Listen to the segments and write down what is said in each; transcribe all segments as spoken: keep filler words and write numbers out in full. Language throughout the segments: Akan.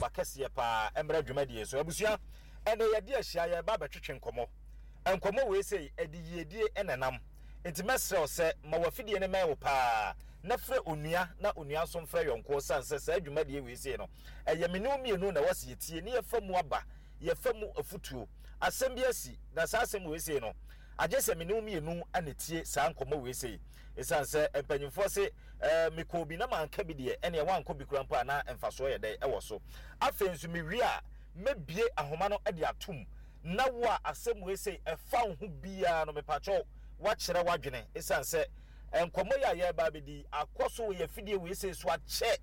aba kɛseɛ paa mmra dwumadie so. Abusua, ɛnɛ yɛde ahyia yɛreba abɛtwetwe nkɔmmɔ. Nkɔmmɔ wei sei, ɛde yiedie na ɛnam. Nti mɛsrɛ wo sɛ ma w'afidie no mmɛn wo paa na frɛ onua na onua nso mfrɛ yɔnkoɔ sane sɛ saa dwumadie wei sei no, ɛyɛ me ne wo mmienu na ɛwɔ sɛ yɛtie ne yɛfa mu aba, yɛfa mu afutuo. Asɛm bi asi, na saa asɛm wei sei no, agye sɛ me ne wo mmienu na ɛtie saa nkɔmmɔ wei sei. Ɛsiane sɛ mpanyimfoɔ se, eh, mekɔɔ bi na manka bi deɛ, ɛneɛ woankɔ bi koraa mpo a na mfasoɔ yɛ dɛn ɛwɔ so. Afei nso mewie a, mɛbue ahoma no de atom na wo a asɛm wei sei ɛfa wo ho biara no, mepakyɛw woakyerɛ w'adwene. Ɛsiane sɛ nkɔmmɔ yi a yɛreba abɛdi yi akɔ so wɔ yɛn afidie wei sei so akyɛ,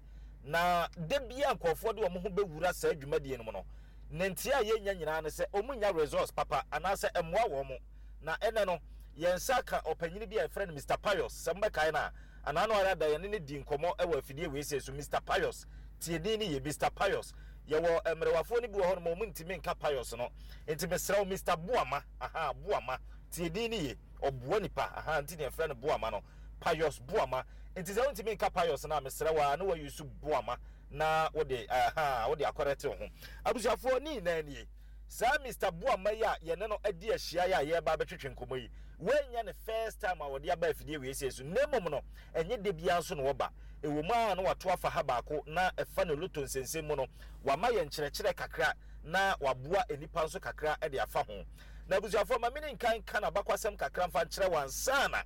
na da biara nkurɔfoɔ de wɔn ho bɛwura saa dwumadie no mu no, ne nteɛ a yɛnya nyinaa ne sɛ wɔnnya results papa anaasɛ ɛmmoa wɔn. Na ɛnnɛ no, yɛn nsa aka ɔpanyin bi a yɛfrɛ no Mister Pius. Sɛ mobɛkae no a, anaa no ara da yɛne no dii nkɔmmɔ wɔ afidie wei sei so. Mister Pius, tie din no yie, Mister Pius. Yɛwɔ mmerewafoɔ no bi wɔ hɔnom a wɔntumi nka Pius no. Nti mesrɛ wo, Mister Boama, aha, Boama, tie din no yie. Ɔboa nipa, aha, nti na yɛfrɛ no Boama no. Pius Boama. Nti sɛ wontumi nka Pius no a, mesrɛ wo ara na woayusu Boama na wode, aha, wode akɔrɛte wo ho. Abusuafoɔ, ne nyinaa nie. Saa Mister Boamah yi a yɛne no adi ahyia yi a yɛreba abɛtwetwe nkɔmmɔ yi, wei nyɛ ne first time a ɔde aba afidie wei sei so, na mmom no, ɛnyɛ da biara nso na ɔba. Ɛwɔ mu ara na wato afa ha baako na ɛfa ne loto nsɛnsɛm mu no, wama yɛn nkyerɛkyerɛ kakra na waboa nnipa nso kakra de afa ho. Na abusuafoɔ, ma mene nkan nka n'abakwasɛm kakra mfa nkyerɛ wo ansa na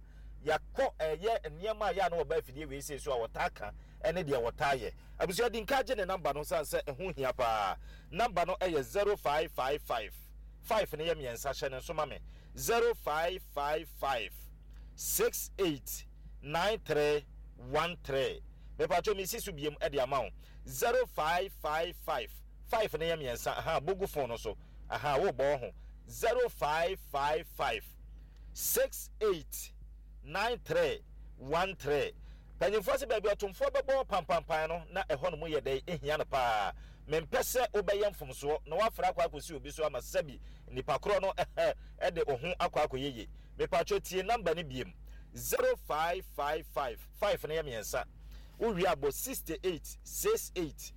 yɛakɔ ɛyɛ nneɛma a yɛ a na wɔba afidie wei sei so a wɔtaa ka ne deɛ wɔtaa yɛ. Abusua, di nka gye ne number no sane sɛ ɛho hia paa. Number no yɛ zero five five five, five no yɛ mmiɛnsa, hyɛ no nso ma me, zero five five five six eight nine three one three. Mepatwo mesi so biem de ama wo, zero five five five, five no yɛ mmiɛnsa, aha, bɔ gu phone no so, aha, wobɔ wo ho, zero five five five six eight nine three one three. Panyimfoɔ se baabi ɔtomfoɔ bɛbɔ pampampan no na ɛhɔ nom yɛ dɛn ehia no paa. Mempɛ sɛ wobɛyɛ mfomsoɔ na woafra akɔ akɔsi obi so ama sɛbi nipa korɔ no de wo ho akɔ akɔyɛ yie. Mepatwɔ tie number no biem, zero five five five, five no yɛ mmiɛnsa, wowie a bɔ sixty eight six eight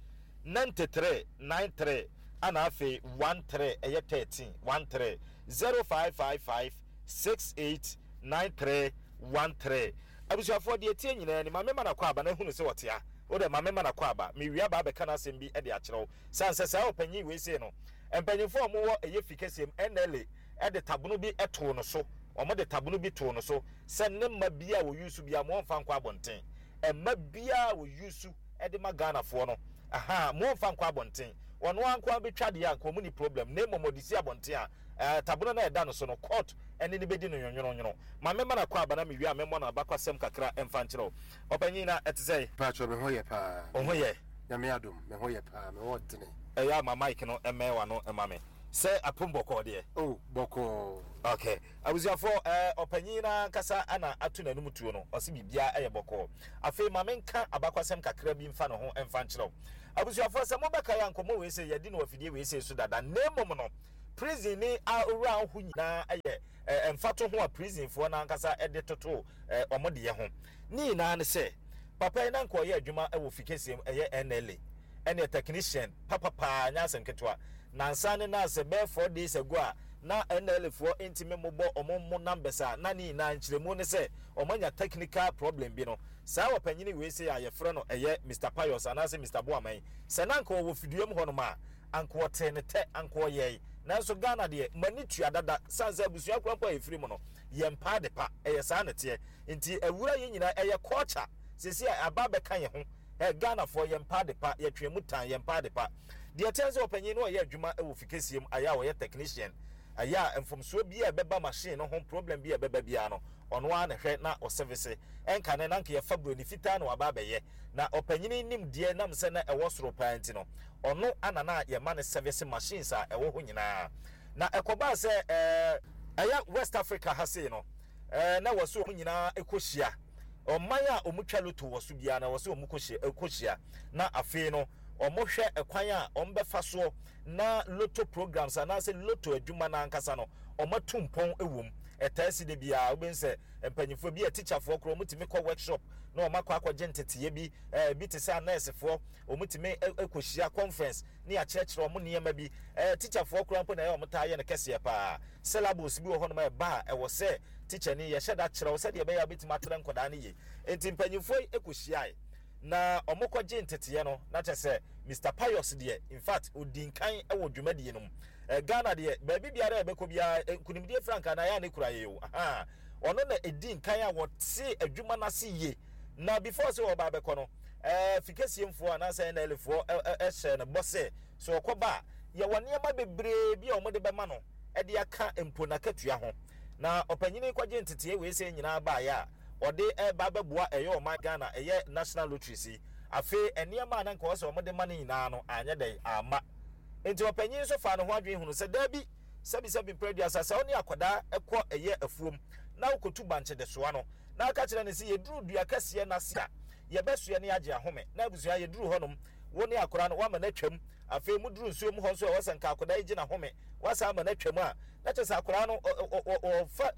ninety three nine three ana afei one three ɛyɛ thirteen one three, zero five five five six eight nine three one three. Abusuafoɔ, deɛ ɛteɛ nyinaa ni, ma memma no akwaaba na hunu sɛ ɔte ha. Wo deɛ ma memma no akwaaba. Mewie aba abɛka n'asɛm bi de akyerɛ wo. Sane sɛ saa ɔpanyin wei sei no, mpanyimfoɔ a wɔwɔ ɛyɛ fi kɛseɛ mu, N L A, de tabono bi too no so. Wɔde tabono bi too no so sɛ ne mma biara a wɔyusu biara, ma wɔmfa nkɔ abɔnten. Mma biara a wɔyusu de ma Ghanafoɔ no, ahaa, ma wɔmfa nkɔ abɔnten. Ɔno ara nko ara bɛtwa deɛ a, anka wɔn nni problem. Na mmom ɔde si abɔnten a, ɛɛ, tabono no a ɛda no so no, court ne no bɛdi no nwonwononwono. Ma memma no akwaaba na mewie a memmɔ no abakwasɛm kakra mfa nkyerɛ wo. Ɔpanyin, na ɛte sɛn? Paatwɔ, me ho yɛ paa. Wo ho yɛ? Nyame adom, me ho yɛ paa, me ho ɔdene. Ɛyɛ a ma mic no mmɛn w'ano mma me. Sɛ apem bɔkɔɔ deɛ? Oh, bɔkɔɔ. Okay. Abusuafoɔ, ɛɛ, ɔpanyin no ankasa na ato n'anum tuo no, ɔse biribiara yɛ bɔkɔɔ. Afei ma menka abakwasɛm kakra bi mfa ne ho mfa nkyerɛ wo. Abusuafoɔ, sɛ mobɛkae a, nkɔmmɔ wei sei, yɛadi no wɔ afidie wei sei so dada, na mmom no, Prison ne owura ho nyinaa yɛ mfatoho a prisonfoɔ no ankasa de toto wɔn deɛ ho. Ne nyinaa ne sɛ, papa yi na anka ɔyɛ adwuma wɔ fi kɛseɛ mu, ɛyɛ N L A, ɛneɛ technician papapaa, nyɛ asɛm ketewa. Nansa ne nansɛ bɛyɛ four days ago a na N L A foɔ ntumi mmobɔ wɔn mo numbers a na ne nyinaa nkyerɛmu ne sɛ wɔn anya technical problem bi no, saa ɔpanyini wei sei a yɛfrɛ no ɛyɛ Mister Pius anaasɛ Mister Boamah yi, sɛ na anka ɔwɔ fiduam hɔnom a, anka ɔtee ne tɛ, anka ɔyɛe. Nanso Ghana deɛ, mo ani tua dada, sane sɛ abusua koraa mpo a yɛfiri mu no, yɛmpɛ ade pa. Ɛyɛ saa na ɛteɛ. Nti awura yɛn nyinaa, ɛyɛ culture. Seesei a aba abɛka yɛn ho. Ɛ, Ghanafoɔ, yɛmpɛ ade pa, yɛtwe mu tan, yɛmpɛ ade pa. Deɛ ɛteɛ ne sɛ ɔpanyin no ɔyɛ adwuma wɔ fi kɛseɛ mu, ayɛ a ɔyɛ technician, ayɛ a mfomsoɔ biara a ɛbɛba machine no ho, problem bi a ɛbɛba biara no, ɔno ara na ɛhwɛ na ɔsɛvese. Ɛnkane na anka yɛfa buroni fitaa na waba abɛyɛ. Na ɔpanyin nimdeɛ nam sɛ na ɛwɔ soro paa nti no, ɔno na na yɛma no sɛvese machines a ɛwɔ hɔ nyinaa. Na ɛkɔbaa sɛ ɛɛ ɛyɛ West Africa ha sei no, ɛɛ na ɛwɔ sɛ wɔn nyinaa kɔhyia. Ɔman a wɔtwa loto wɔ so biara no, ɛwɔ sɛ wɔkɔhyia, kɔhyia. Na afei no, wɔhwɛ ɛkwan a wɔbɛfa soɔ na loto programs anaasɛ loto adwuma no ankasa no, wɔatu mpɔn wɔ mu. Ɛtaa si da biara, wobɛhu sɛ mpanyinfoɔ bi a tikyafoɔ koraa wɔtumi kɔ workshop na wɔn akɔ akɔgye nteteeɛ bi. ɛɛ bi te sɛ anɛɛsefoɔ, wɔn tumi kɔhyia conference ne yɛakyerɛkyerɛ wɔn nneɛma bi. ɛɛ tikyafoɔ koraa mpo na ɛyɛ wɔn taa yɛ no kɛseɛ paa. Syllabus bi wɔ hɔnom a ɛba a, ɛwɔ sɛ tikyani yɛhyɛ da kyerɛw sɛdeɛ ɛbɛyɛ a wobɛtumi akyerɛ nkwadaa no yie. Nti mpanyinfoɔ yi kɔhyiae na wɔn kɔgye nteteeɛ no, na kyerɛ sɛ Mister Pius deɛ, in fact, odi nkan wɔ dwumadie no mu. ɛɛ Ghana deɛ, baabi biara a yɛbɛkɔ biara, nkunimdie frankaa na ayɛ a ne kura yɛ o. Ahan, ɔno na edi nkan a wɔte adwuma n'ase yie. Na before sɛ ɔba abɛkɔ no, ɛɛ fikesiemfoɔ anaasɛ N L A foɔ ɛhyɛ no bɔ sɛ sɛ ɔkɔba a, yɛwɔ nneɛma bebree bi a wɔde bɛma no ɛde aka mpo n'akatua ho. Na ɔpanyin kɔgye nteteɛ wei sɛ nyinaa baeɛ a ɔde ɛba bɛboa ɛyɛ ɔman Ghana, ɛyɛ National Lottery si. Afei nneɛma a na nka wɔsɛ wɔde ma no nyinaa no anyɛ dɛn amma. Nti ɔpanyin nso fa ne ho adwene hunu sɛ daabi, sɛbisɛbi mpere aduasa, sɛ ɔne akwadaa ɛkɔ ɛyɛ afuom na wokɔtu bankye de soa no na aka kyerɛ no sɛ yɛduru dua kɛseɛ n'ase a, yɛbɛsoɛ ne agye ahome, na abusua yɛduru hɔnom, wo ne akwadaa no woama no atwam. Afei muduru nsuo mu hɔ nso, ɛwɔ sɛ nka akwadaa yi gye n'ahome, wasa ama no atwam a, na kyerɛ sɛ akwadaa no ɔfa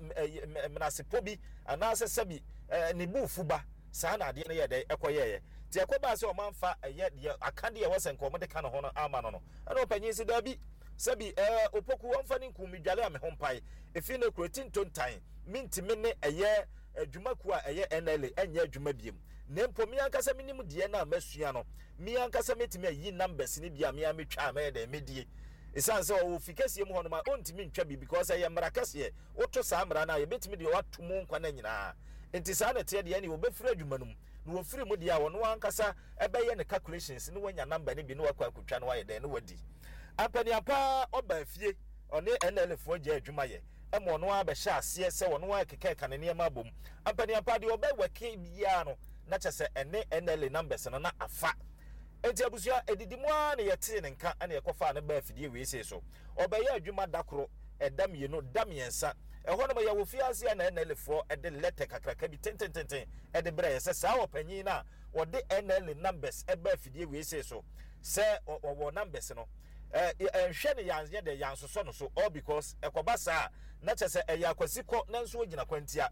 menasepɔ bi anaasɛ sɛbi ne buufu ba saa na adeɛ no yɛ dɛ ɛkɔyɛɛyɛ. Nti ɛkɔbaa sɛ ɔmanfa ɛyɛ deɛ aka deɛ ɛwɔ sɛ nka ɔmode ka ne ho no ama no no ɛna ɔpanyin si daabi, sɛbi ɛɛ Opoku wɔmfa ne nkum midwale a me ho mpae efi ne kuro ti ntontan, mintimi ne ɛyɛ adwumakuo a ɛyɛ N L A ɛnyɛ adwuma biem, na mpo me ankasa menim deɛ no a masua no, me ankasa mɛtumi ayi numbers no bi a me a metwa a mɛyɛ dɛn mɛdie. Ɛsiane sɛ ɔwɔ fi kɛseɛ mu hɔ nom a, ɔntumi ntwa bi because ɛyɛ mmara kɛseɛ. Woto saa mmara no a, yɛbɛtumi deɛ wato mu nkwa no nyinaa. Nti saa na ɛteɛ deɛ, ɛne wɔbɛfiri adwuma no mu na wɔfiri mu deɛ a, ɔno ankasa ɛbɛyɛ ne calculations ne wanya number no bi ne wakɔ akotwa no, wayɛ dɛn ne wadi ampaniampa. Ɔba fie, ɔne N L A foɔ gya adwuma yɛ ɛma ɔno ara bɛhyɛ aseɛ sɛ ɔno ara keka ne nneɛma abom. Ampaniampa deɛ ɔbɛwɛke biara no, na kyɛ sɛ ɛne N L A numbers no na afa. Nti abusua, edidi mu ara na yɛtee ne nka ɛna yɛkɔfaa ne baa afidie wei sei so. Ɔbɛyɛ adwuma da koro, ɛda mmienu, da mmiɛnsa, ɛhɔ nom yɛwɔ fiase a na N L A foɔ ɛde letter kakraka bi tentententen ɛde brɛ yɛ sɛ saa ɔpanyin no a wɔde N L A numbers ɛba afidie wei sei so sɛ ɔwɔ numbers no, ɛɛ ɛnhwɛ ne yɛanyɛ dɛ yɛansosɔ no so, all because ɛkɔba saa na kyɛ sɛ ɛyɛ akwasi kɔ na nso ogyina kwantia.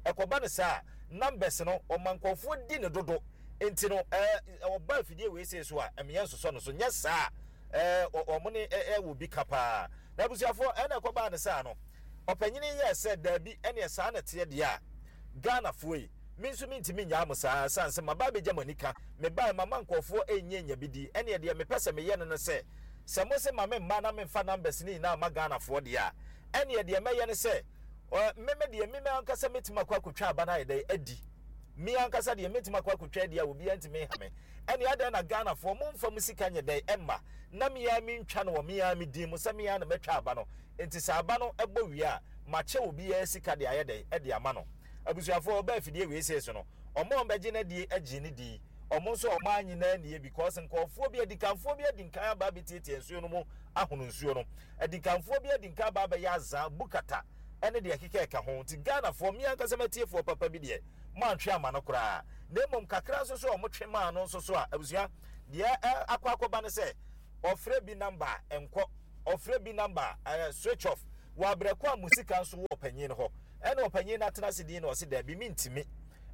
Ɛkɔba no saa, numbers no ɔma nkɔfoɔ di ne dodo. Nti no ɛɛ ɔba afidie wei sei so a, ɛmeyɛ nsosɔ no so nyɛ saa ɛɛ ɔmo ne ɛwɔ bi ka paa. Na abusuafoɔ, ɛna ɛkɔbaa ne saa no, ɔpanyini yɛ sɛ daabi, ɛneɛ saa na teɛ deɛ a, Ghanafoɔ yi, me nso mentumi nyaa mo saa san sɛ maba abɛgya mo ani ka mebaa mama nkɔɔfoɔ ɛnyɛ nya bi di. Ɛneɛ deɛ mepɛ sɛ meyɛ no no sɛ sɛ mo sɛ ma me mma na memfa numbers ne nyinaa ma Ghanafoɔ deɛ a, ɛneɛ deɛ mɛyɛ no sɛ meme deɛ, meme ankasa mɛtumi akɔ akɔtwa aba no ayɛ dɛ adi. Me ankasa deɛ, mɛtumi akɔ akɔtwa adi a obiara ntumi nha me. Ɛne adɛn na Ghanafoɔ momfa mu sika nyɛ dɛn ɛmma na mea mentwa no wɔ mea me din mu sɛ mea na mɛtwa aba no? Nti sɛ aba no ɛbɔ wie a, makyɛ obiara sika de ayɛ dɛn ɛde ama no. Abusuafoɔ, ɔbaa afidie wei sei so no, ɔmo a ɔmbɛgye no adie agye ne di, ɔmo nso ɔmo anyi na anie because nkɔɔfoɔ bi, adikanfoɔ bi adi nkan aba abɛtiatia nsuo no mu ahono nsuo no. Adikanfoɔ bi adi nkan aba abɛyɛ azaa bukata ɛne deɛ ɛkeka ɛka ho. Nti Ghanafoɔ, mmea ankasa matiefoɔ papa bi deɛ, moantwe ama no koraa, na mmom kakra nso so a ɔmo twe maa no nso so a, abusua, deɛ akɔ akɔba ne sɛ ɔfrɛ bi number a ɛnkɔ, ɔfrɛ bi number a ɛɛ switch off wɔ abrɛko a mo sika nso wɔ ɔpanyin no hɔ. Ɛna ɔpanyin no atena ase din na ɔsi daabi, mi ntumi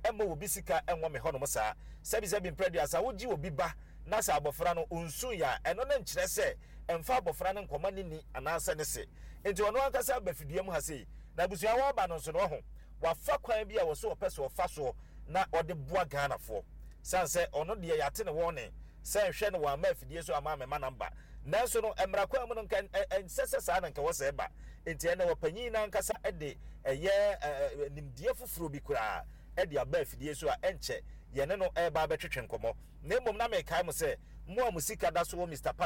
ɛma obi sika ɛnwɔ me hɔnom saa. Sɛbisɛbi mprɛduasa, wogye obi ba na sɛ abɔfra no onsu yɛ a, ɛno ne nkyerɛ sɛ ɛmfa abɔfra no nkɔma ne ni anaasɛ ne se. Nti ɔno ankasa aba fidua mu ha sei na abusua wɔaba no nso no, ɔho wafa kwan bi a wɔso ɔpɛ so ɔfa soɔ na ɔde boa Ghanafoɔ, san sɛ ɔno deɛ yɛate ne wɔn ne sɛ nhwɛ no wɔama afidie so ama amema number. Nanso no mmara kwan mu no, nka ɛnsɛ sɛ saa na nka wɔ sɛ ɛba. Nti ɛnɛ wɔpanyin n'ankasa de ɛyɛ ɛɛ nimdeɛ foforɔ bi koraa ɛde aba afidie so a ɛnkyɛ yɛne no ɛreba abɛtwetwe nkɔmɔ. Na mmom na mekae mo sɛ mo a mo sika da so wɔ Mister